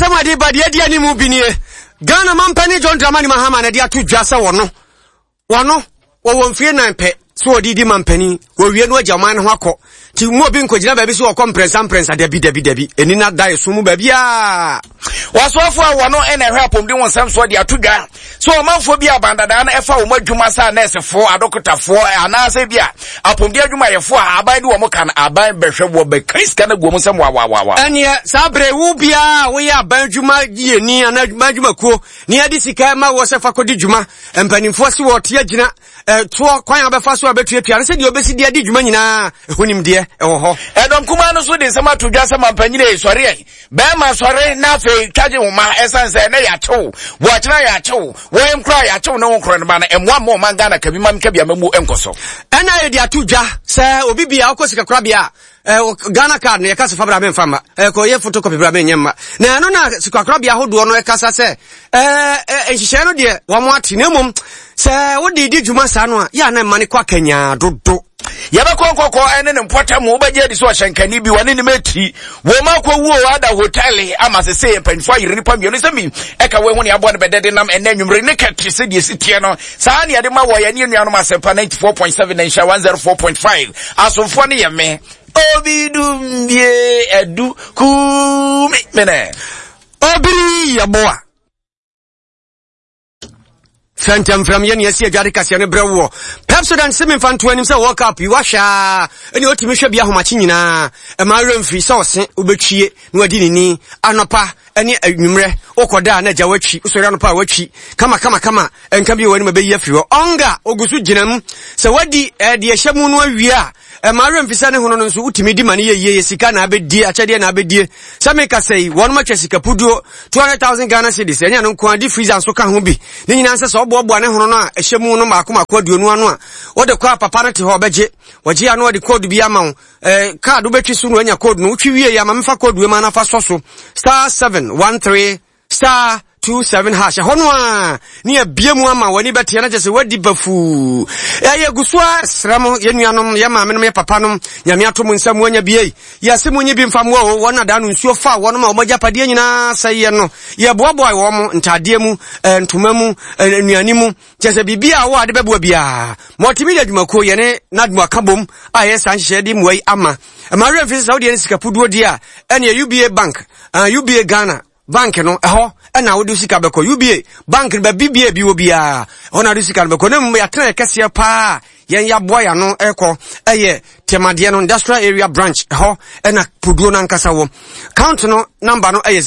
Nsɛm a ɛde ba deɛ adi anim bi nie. Ghana mampanin John Dramani Mahama na ɛde ato dwa sɛ wɔno wɔno wɔwɔ mfie nan pɛ sɛ wɔde di mampanin wɔwie no agya ɔman no ho akɔ nti mu obi nkɔgyina baabi sɛ wɔkɔ mprɛnsa mprɛnsa dabi dabi dabi ɛni na da ɛso mu baabiaa Wɔsoafo a wɔno na ɛhwɛ apɔmuden ho nsɛm soɔ de ato dwa sɛ ɔmanfoɔ bi a abandadaa no ɛfa wɔn adwuma sɛ anɛɛsefoɔ, adɔkotafoɔ anaasɛ bi a apɔmuden adwumayɛfoɔ a aban de wɔn ka no aban bɛhwɛ wɔ bɛka sika no agu wɔn nsam wawawawa. Ɛneɛ saa berɛ wo biara a woyɛ aban adwuma yɛni anaa aban adwumakuo ne yɛde sika ma wɔ sɛ fa kɔdi dwuma mpanimfoɔ se wɔte agyina toɔ kwan a bɛfa so a bɛtuatua no sɛdeɛ wɔbɛsi de adi dwuma nyinaa ɛho nimdeɛ ɛwɔ hɔ. Ɛdɔm kumaa no nso de nsɛm ato dwa sɛ mampanyini sɔre ɛ Bɛɛma sɔre na afei twagye wo ma ɛsan sɛ ɛnɛ yɛakyew wɔkyena yɛakyew wɔn kora yɛakyew ne wo nkorɔ no ba no ɛmmoa mma ɔman Ghana kabi ma mka bi amamuo nkɔ so. Ɛna yɛde ato dwa sɛ obi bia ɔkɔ sikakorabea a Ghana card no yɛka sɛ fa bra memfa mma ɛkɔ yɛ photocopy bra menyɛ mma na ɛno na sikakorabea ahodoɔ no ɛkasa sɛ nhyehyɛɛ no deɛ wɔn ate na mmom sɛ wode di dwuma saa no a yɛ a na ɛma no kɔ akanyaa dodo. Yɛbɛkɔ nkɔkɔ ne ne mpɔtam wobɛgye adi sɛ ɔhyɛnkani bi wɔne ne mɛti wɔn akɔwuo ada hotɛle ama sese mpanyinfoɔ ayere nipa mmienu sɛ mi ɛka wɔn ho ne aboa no bɛdɛ de nam ɛnɛ nwumere ne kɛte sɛ deɛ si teɛ no saa ne yɛde ma wɔ yɛne nuanom asɛmpa 94.7 na nhyɛ 104.5 asomfoɔ no yɛ me obi dumbie adu kumi mene obiri yɛboa Fɛntɛmfrɛm yɛ nea ɛsi adwade kaseɛ no brɛ woɔ. Pepsodent se memfa nto anim sɛ World Cup yi wahwɛ a ɛne ɔtumi hwɛ bi ahomakye nyinaa. Ɛma werɛ mfiri sɛ ɔse wobɛtwie na wadi ne ni anɔpa ne anwummerɛ. Wokɔda a na agya watwi, wosɔre anɔpa a watwi kama kama kama. Nka bi wɔ w'anim a ɛbɛyi afiri hɔ. Ɔnga ogu so gyina mu. Sɛ wadi eh, deɛ ɛhyɛ mu no awie a Ɛma werɛ mfi sɛ ne hono no nso wotumi di ma no yɛ yie, yɛ sika na abɛdie, akyɛdeɛ na abɛdie. Sɛ meka sɛ yi, wɔnom atwa sika puduo, 200,000 Ghana cedis, ɛnyɛ no nko ara, deep freezer nso ka ho bi. Ne nyinaa nsɛ sɛ ɔboaboa ne hono no a ɛhyɛ mu no mmaako mmaako aduonu ano a, wode kɔ a papa no te hɔ ɔbɛgye. Wɔgye a na wɔde code bi ama wo. Eh, card wobɛtwi so na wanya code no. Wotwi wie yi ama memfa code wei ma na fa sɔ so. Star 713 Star 27 hash ɛhɔ no a ne abie mu ama w'ani bɛteɛ na kyɛ sɛ wadi bafuu. Ɛyɛ gu so a srɛ mo yɛ nuanom yɛ maamenom yɛ papanom nyame ato mo nsa mu anya bie yɛse mo nyi bi mfa mmoa o wɔn adaa no nsuo fa wɔn ma wɔn agyapadeɛ nyinaa sɛ yɛ no yɛboaboa wɔn mo ntaadeɛ mu ntoma mu nnuane mu kyɛ sɛ biribi a wɔ ade bɛboa biara multimedia adwumakuo yɛne nadmo aka bom a yɛ saa nhyehyɛeɛ de mmoa yi ama ɛma werɛ mfi sɛ sɛ wodeɛ ne sika puduo deɛ a ɛneɛ UBA bank uh, UBA Ghana Bank no, ɛhɔ na wode sika bɛkɔ. UBA, bank no, baabi bia ebi wɔ biara, ɛhɔ na wode sika no bɛkɔ. Na mmom yɛatena yɛ kɛseɛ paa yɛn yɛaboa yɛn ano ɛkɔ ɛyɛ Tɛmadeɛ no, Industrial Area Branch, ɛhɔ ɛna puduo no ankasa wɔ. Count no number no ɛyɛ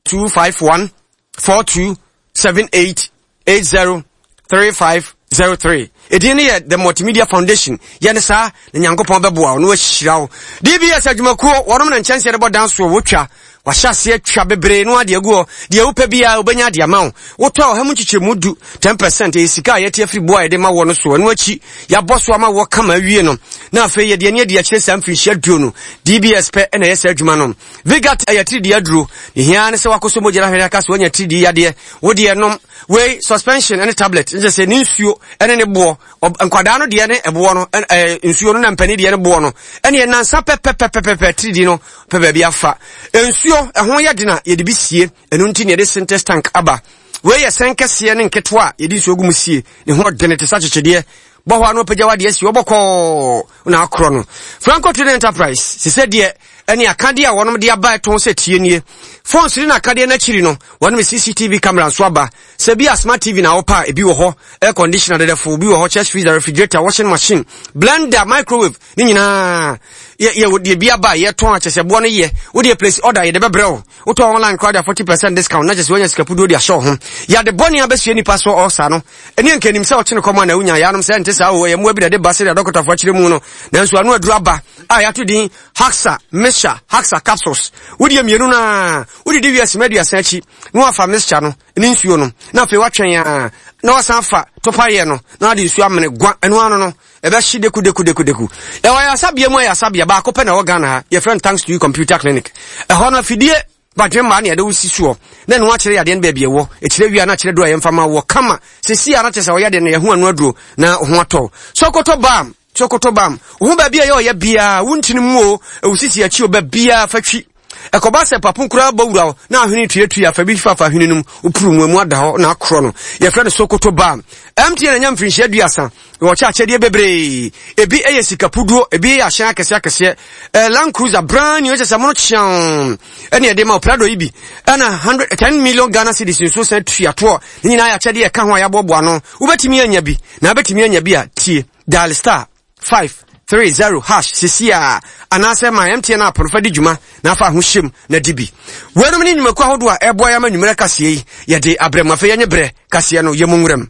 0251 42 78 80 3503. Edin no yɛ The Multimedia Foundation. Yɛ ne saa na Nyankopɔn bɛboa wo na wahyira wo. DBS adwumakuo, wɔnom na nkyɛnse de bɔ dan soɔ, wɔtwa. Wahyɛ aseɛ twa bebree no adeɛ agu hɔ. Deɛ wopɛ biara wobɛnya adeɛ ama wo. Wotɔ a ɔha mu nkyekyɛmu du, 10%, ɛyɛ sika a yɛte afiri boɔ a yɛde ma wɔ no so. Ɛno akyi, yɛabɔ so ama wɔ kama awie no. Na afei yɛde ani adi akyire saa mfirinhyia duo no. DBS pɛ na ɛyɛ saa adwuma no. Vigat ɛyɛ atiridii aduro. Ne hia ne sɛ wakɔsɔ mogya no ahwɛ aka sɛ wanya atiridii yadeɛ. Wo deɛ nom wei suspension ne tablet nkyɛ sɛ ne nsuo ne ne boɔ. Nkwadaa no deɛ ne ɛboɔ no ɛɛ nsuo no na mpanin deɛ ne boɔ no. Ɛne nansa pɛpɛpɛpɛpɛ atiridii no pɛ baabi afa. Nsuo ɛho yɛ den a yɛde bi sie. Ɛno nti na yɛde Sintex tank aba. Wei yɛ sɛn kɛseɛ ne nketewa a yɛde nsuo gu mu sie. Ne ho ɔdene te sɛ akyekyedeɛ. Bɔ hɔ a na wapagya w'adeɛ asi hɔ bɔkɔɔ na akorɔ no. Franco Trading Enterprise, sisɛ deɛ ɛne akadeɛ a wɔnom de aba ɛtɔn sɛ tie nie. Phones ne n'akadeɛ no akyiri no, wɔnom CCTV camera nso aba. Sɛ bi a smart TV na wopɛ a, ebi wɔ hɔ. Air conditioner dɛdɛfo bi wɔ hɔ, chest freezer, refrigerator, washing machine, blender, microwave, ne nyinaa. Yɛ yɛ deɛ bi aba a yɛtɔn a kyɛ sɛ boɔ no yɛ. Wo deɛ place order yɛde bɛbrɛ wo. Wotɔ online koraa de a 40% discount na kyɛ sɛ woanya sika puduo de ahyɛ wo ho. Yɛade bɔne abɛsua nipa so ɔsa no. Ɛne anka nim sɛ ɔkyene kɔm a na wonya yaanom sɛ ɛnte saa o, ɛyɛ mmoa bi na ɛde ba sɛdeɛ adɔkotafoɔ akyerɛ mu no. Nanso ano aduru aba a yɛato din Haxa Mixture, Haxa Capsules. Wodeɛ mmienu no ara, wodidi wie asima aduasa akyi na wafa mixture no ne nsuo no na afei watwɛn a na wasan afa topaeɛ no na wade nsuo amene gua ɛno ano no ɛbɛhye deku deku deku deku. Ɛwɔ ayasabea mu ayasabea baako pɛ na ɛwɔ Ghana ha, yɛfrɛ no Thanks to You Computer Clinic. Ɛhɔ no afidie Badwemma ne yɛde wo si soɔ na ɛno akyerɛ yadeɛ no baabi ɛwɔ ɛkyerɛ wie a na akyerɛ duro a yɛmfa ma wɔ kama sɛsi a na kyerɛ sɛ ɔyɛ deɛ no yɛho ano aduro na ho atɔ Sokoto bam Sokoto bam wo ho baabi a ɛyɛ ɔyɛ biara wo ntini mu o ɛwo sisi akyi o baabiara fa twi. Ɛkɔba sɛ papo koraa bɔ wura wo na ahwene tuatua fa bi fafa hwene no mu, wopuru mu emu ada hɔ na akorɔ no. Yɛfrɛ no Sokoto Balm. MTN anya mfirinhyia aduasa na wɔkyɛ akyɛdeɛ bebree. Ebi yɛ sika puduo, ebi yɛ ahyɛn akɛseɛ akɛseɛ. Eh, Land Cruiser brand new, ɛkyɛ sɛ mono kyeaw ɛne ɛde ma Prado yi bi. Ɛna 110 million Ghana cedis nso san tua toɔ. Ne nyinaa yɛ akyɛdeɛ ɛka ho a yɛaboaboa ano. Wobɛtumi anya bi, na wobɛtumi anya bi a tie. Dial star 530 hash sisi a anaasɛ ma MTN app no fa di dwuma na afa ho hyɛm na di bi. Weinom ne nnwumakuo ahodoɔ a ɛboa yɛ ama nnwumerɛ kaseɛ yi yɛde abrɛ mu. Afei yɛnye berɛ kaseɛ no yɛ mu nwuram.